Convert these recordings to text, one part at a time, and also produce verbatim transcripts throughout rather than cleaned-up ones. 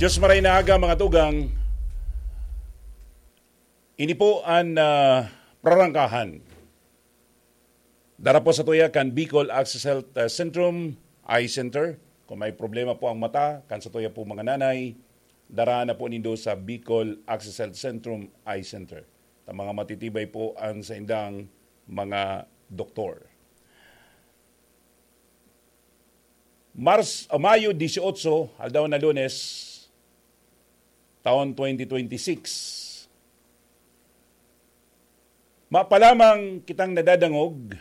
Diyos maray na aga, mga tugang. Ini po an, ah, prarangkahan. Dara po sa tuya kan Bicol Access Health, ah, Centrum Eye Center. Kung may problema po ang mata, kan sa tuya po mga nanay, dara na po nindo sa Bicol Access Health Centrum Eye Center. Ta mga matitibay po ang saindang mga doktor. Mars, ah, Mayo dieciocho, aldaw na Lunes, taon twenty twenty-six. Mapalamang kitang nadadangog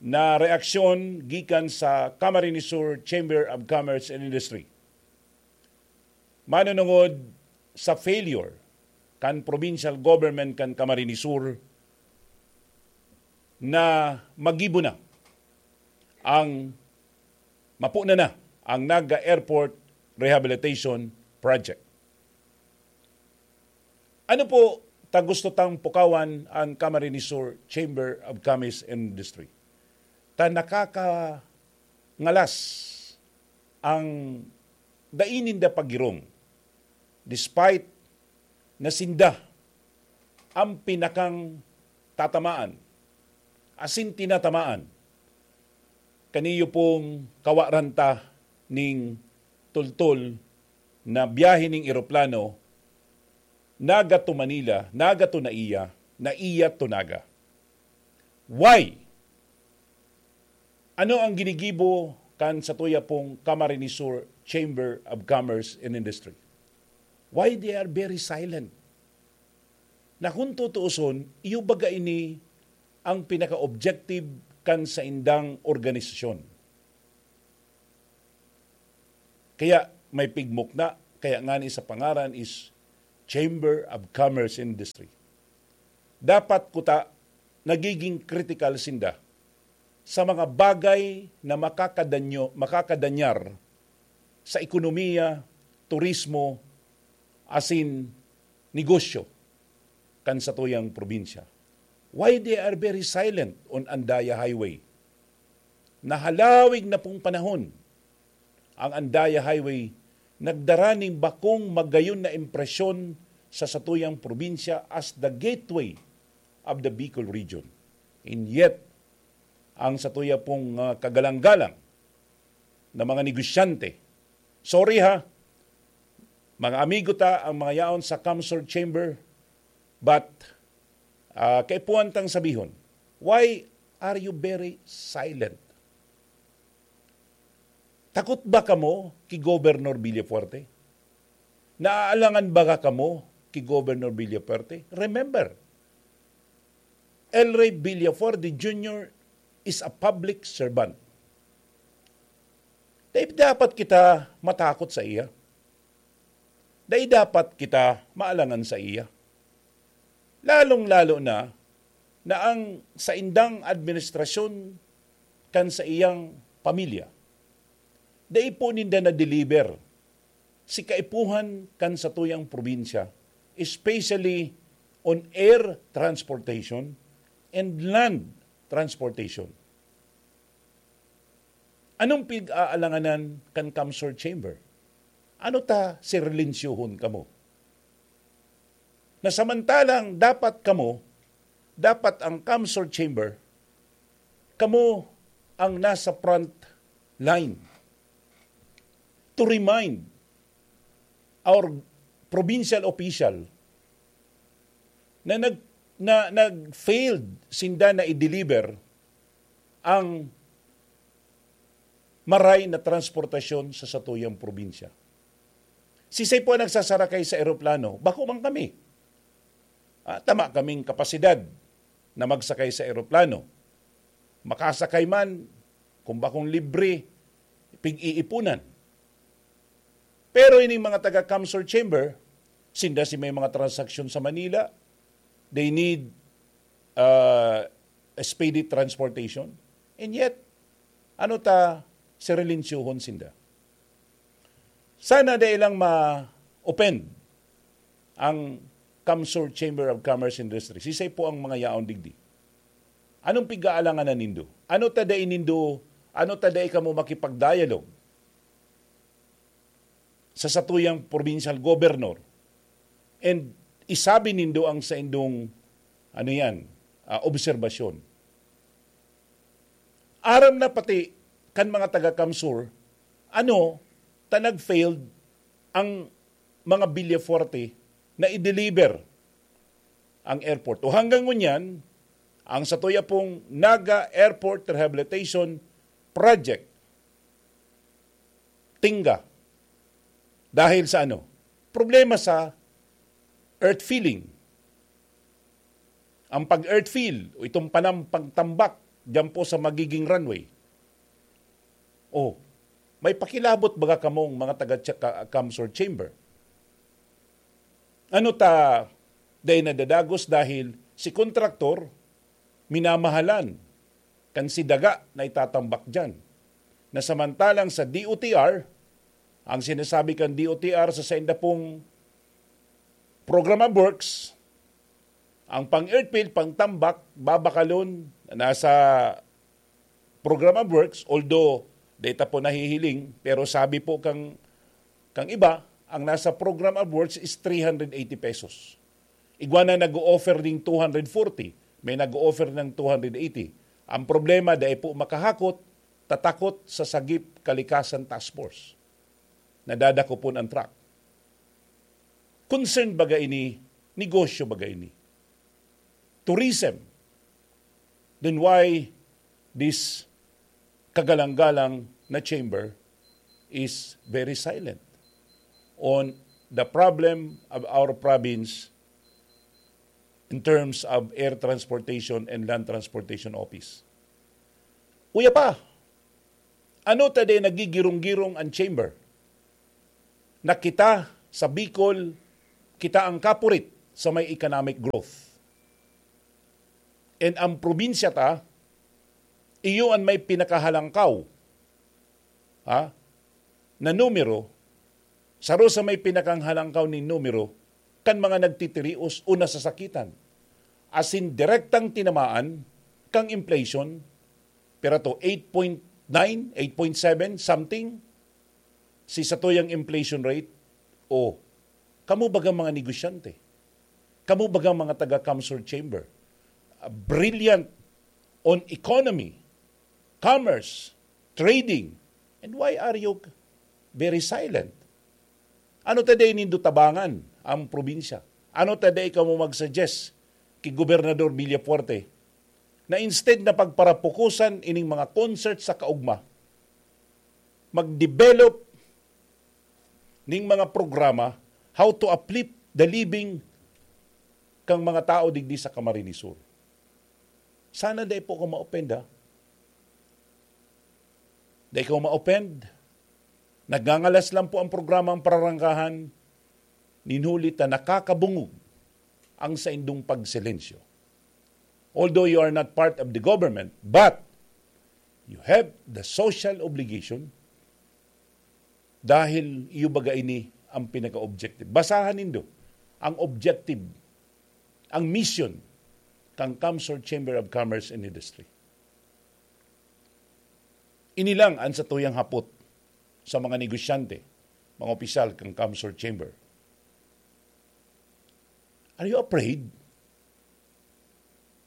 na reaksyon gikan sa Camarines Sur Chamber of Commerce and Industry. Manunungod sa failure kan provincial government kan Camarines Sur na magibo na ang, mapuna na ang Naga Airport Rehabilitation Project. Ano po ta gusto tang pukawan an Camarines Sur Chamber of Commerce and Industry? Ta nakakangalas ang dai ninda pagirong, despite na sinda ang pinakang tatamaan, asin tinatamaan. Kaniyo pong kawaran ta ning tultol na biyahe ning eroplano, Naga to Manila, Naga to Naiya, Naiya to Naga. Why? Ano ang ginigibo kan satuya pong Camarines Sur Chamber of Commerce and Industry? Why they are very silent? Na kung tutuuson, iyo baga ini ang pinaka-objective kan saindang organisasyon. Kaya may pigmukna, kaya ngani sa pangaran is Chamber of Commerce Industry. Dapat kuta nagiging kritikal sinda sa mga bagay na makakadanyo, makakadanyar sa ekonomiya, turismo, asin negosyo kan satuyang probinsya. Why they are very silent on Andaya Highway? Nahalawig na pong panahon ang Andaya Highway nagdara ning bakong magayon na impresyon sa satuyang probinsya as the gateway of the Bicol region. And yet, ang satuya pong, ah, kagalang-galang na mga negosyante, sorry ha, mga amigo ta ang mga yaon sa CamSur Chamber, but, ah, kaipuhan tang sabihon, why are you very silent? Takot ba kamo ki Governor Villafuerte? Naaalangan baga kamo ki Governor Villafuerte? Remember, El Rey Villafuerte Junior is a public servant. Dai dapat kita matakot sa iya. Dai dapat kita maalangan sa iya. Lalong-lalo na, na ang saindang administrasyon kan sa iyang pamilya, dai po ninda na-deliver si kaipuhan kan satuyang probinsya, especially on air transportation and land transportation. Anong pig-aalanganan kan CamSur Chamber? Ano ta sirelensyohon kamo? Na samantalang dapat kamo, dapat ang CamSur Chamber, kamo ang nasa front line to remind our provincial official na nag-, na nag-failed sinda na i-deliver ang maray na transportasyon sa satuyang probinsya. Sisay po ang nagsasarakay sa eroplano? Bako man kami. Ah, tama kaming kapasidad na magsakay sa eroplano. Makasakay man, kung bakong libre, pig-iipunan. Pero ining mga taga CamSur Chamber, sinda si may mga transaksyon sa Manila, they need, uh, speedy transportation. And yet, ano ta sirelensyohon sinda? Sana dai lang ma-offend ang CamSur Chamber of Commerce Industry. Sisay po ang mga yaon digdi? Anong pig-aalanganan nindo? Ano ta dai nindo, ano ta dai kamo makipag-dialogue? sa satuyang provincial governor and isabi nindo ang saindong, ano yan, ah, obserbasyon. Aram na pati kan mga taga-CamSur, ano, ta nag-failed ang mga Villafuerte na i-deliver ang airport. O hanggang ngunyan, ang satuya pong Naga Airport Rehabilitation Project, tingga. Dahil sa ano? Problema sa earth filling. Ang pag-earth fill o itong panampang tambak diyan po sa magiging runway. Oh, may pakilabot baga kamong mga taga Cha-, Ka-, CamSur Chamber? Ano ta dai nadadagos dahil si kontraktor minamahalan kan si daga na itatambak diyan. Na samantalang sa D O T R, ang sinasabi kan D O T R sa sainda pong program of works, ang pang-earth fill, pang tambak, babakalon, nasa program of works, although data po nahihiling, pero sabi po kang, kang iba, ang nasa program of works is three hundred eighty pesos. Igwa na nag-o-offer ning two hundred forty, may nag-o-offer ng two hundred eighty. Ang problema, dai po makahakot, tatakot sa Sagip Kalikasan Task Force. Nadadakopon ang truck. Concern baga ini, negosyo baga ini. Tourism. Then why this kagalang-galang na chamber is very silent on the problem of our province in terms of air transportation and land transportation office? Uya pa, ano ta dai nagigirong-girong ang chamber na kita sa Bicol, kita ang kapurit sa may economic growth? And ang probinsya ta, iyo an may pinakahalangkaw, ha, na numero, saro sa may pinakanghalangkaw nin numero kan mga nagtitirios o nasasakitan. As in, direktang tinamaan kang inflation, pero to, eight point nine, eight point seven, something, si satuyang inflation rate. O, kamo bagang mga negosyante, kamo bagang mga taga-CamSur Chamber, ah, brilliant on economy, commerce, trading, and why are you very silent? Ano ta dai nindo tabangan ang probinsya? Ano ta dai kamo mag-suggest ki Gobernador Villafuerte na instead na pagparapukusan ining mga concert sa kaugma, mag-develop ning mga programa how to uplift the living kang mga tao digdi sa Camarines Sur? Sana dai po ako ma-offend, ha? Dai ko ma-offend. Nagngangalas lang po ang programang Pararangkahan, nin huli ta nakakabungog ang saindong pagsilensyo. Although you are not part of the government, but you have the social obligation dahil iyo baga ini ang pinaka-objective. Basahan nindo ang objective, ang mission kan CamSur Chamber of Commerce and Industry. Ini lang ang satuyang hapot sa mga negosyante, mga opisyal kan CamSur Chamber. Are you afraid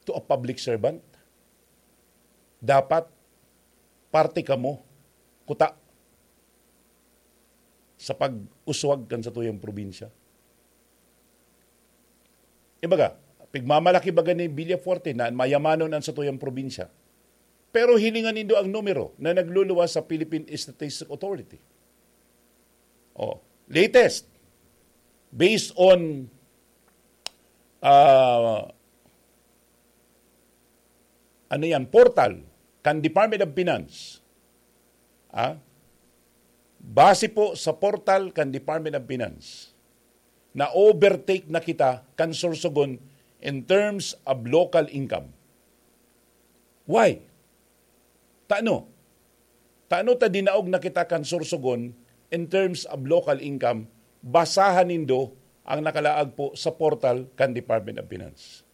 to a public servant? Dapat parte kamo kuta sa pag-uswag kan satuyang probinsya. Ibaga, pigmamalaki baga ni Villafuerte na mayamanon ang satuyang probinsya. Pero hilingan nindo ang numero na nagluluwas sa Philippine Statistics Authority. Oh, latest, based on, ah, ano yan, portal kan Department of Finance. Ah? Base po sa portal kan Department of Finance, na-overtake na kita kan Sorsogon in terms of local income. Why? Tano? Tano ta dinaog na kita kan Sorsogon in terms of local income? Basahan nindo ang nakalaag po sa portal kan Department of Finance.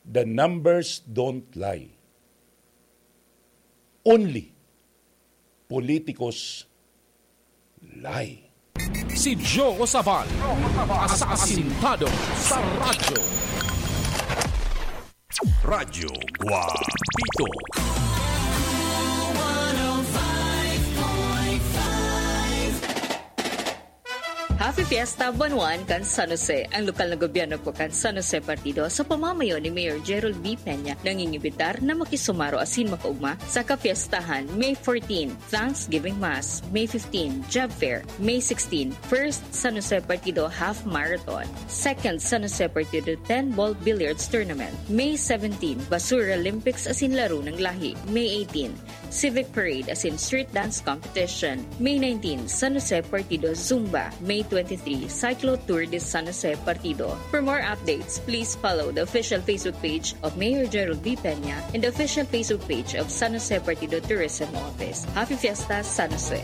The numbers don't lie. Only politicos lie. Si Joe Sabal, asasintado sa radyo. Radyo Guapito. Happy Fiesta, Buwan One kan San Jose. Ang lokal na gobyerno po kan San Jose Partido sa pamamayo ni Mayor Gerald B. Peña nangingibitar na makisumaro asin makaugma sa kapiestahan May fourteen, Thanksgiving Mass, May fifteen, Job Fair, May sixteen, First San Jose Partido Half Marathon, Second San Jose Partido ten Ball Billiards Tournament, May seventeen, Basura Olympics asin Laro ng Lahi, May eighteen, Civic Parade asin Street Dance Competition, May nineteen, San Jose Partido Zumba, May twenty-three, Cyclo Tour de San Jose Partido. For more updates, please follow the official Facebook page of Mayor Gerald B. Peña and the official Facebook page of San Jose Partido Tourism Office. Happy Fiesta, San Jose!